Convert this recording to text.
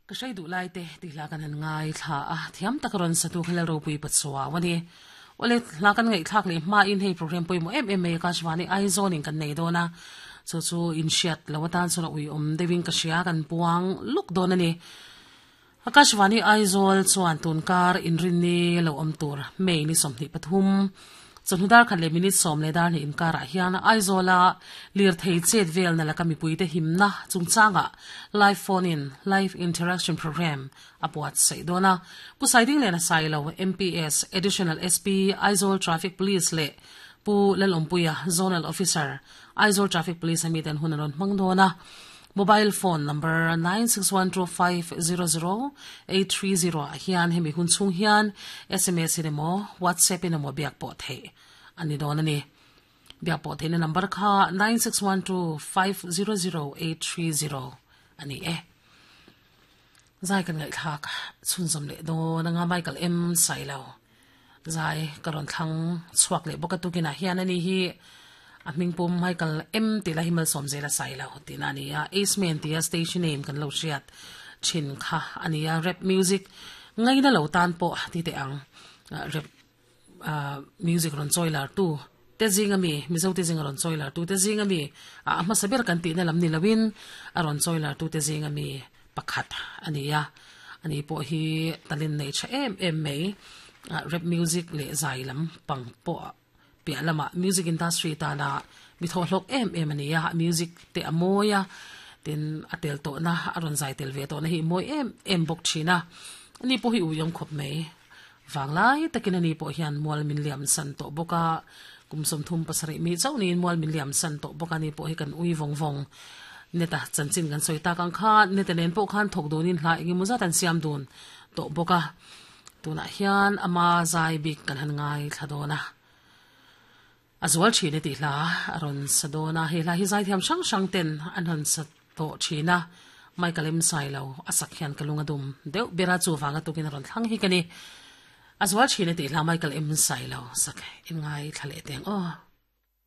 Ka hrei duh lai te tih hla kan han ngaithla a, thiam tak rawn satu kha Lalropui Pachuau a ni. Awle, hla kan ngaihthlak leh hmain hei program pawimawh em em mai Akashvani Aizawl in kan nei dawn a, chu chu inhriat lo atan chuan a uiawm deuhin ka hria kan puang luk dawn a ni. Akashvani Aizawl chuan tunkar inrinni lo awm tur May ni 23, chawhnu dar khat leh minute sawm leh dar hnih inkarah hian Aizawla lirthei chet velna laka mipuite himna chungchangah live phone in live interaction programme a buatsaih dawn a. Pu Saidinglena Sailo, MPS, Additional SP, Aizawl Traffic Police leh Pu Lalawmpuia, Zonal Officer, Aizawl Traffic Police a miten hun an rawn hmang dawn a. Mobile phone number 9612500830 ah hian hemi hun chhung hian sms in emaw WhatsApp in emaw biak pawh theih a ni dawn a ni. Biak pawh theihna number kha 9612500830 a ni e. Zai kan ngaihthlak chhunzawm leh dawn anga Michael M Sailo zai ka rawn thlang chhuak leh bawk a tukinah hian ani hi a hming pum Michael M tih lai hi malsawm zel a Sailo tihna a ni a, Ace Man tia stage name kan lo hriat thin kha a ni a, rap music ngaina lo tan pawh ti teh ang rap music rawn chawi lar tu te zing ami Mizo te zing a rawn chawi lar tu te zing ami a hmasa ber kan tihna lam ni loin a rawn chawi lar tu te zing ami pakhat a ni a ani pawh hi talent nei tha em em mai rap music leh zai lam pang pawh piah lamah music industry tana mi thawhhlawk em em a ni a music te a mawi a tin a tel tawhna a rawn zai tel ve tawhna hi mawi em em bawk thin a ani pawh hi ui awm khawp mai. Vanglai takin ani pawh hian mual min liam san tawh bawk a, kum 37 mi chauh niin mual min liam san tawh bawk a, ani pawh hi kan ui vawng vawng. Neta chanchin kan sawi tak ang kha, Neta nen pawh khan thawk dunin hla eng emaw zat an siam dun tawh bawk a, tunah hian ama zai bik kan han ngaithla dawn a. A zual thin e tih hla a rawn sa dawn a, he hla hi zaithiam hrang hrang ten an rawn sa tawh thin a, Michael em sai lo a sak hian ka lung a dum deuh ber a, chuvang a tukin a rawn thlang hi ka ni. A zual thin e tih hla Michael em sai lo sak in ngaithla leh teng aw.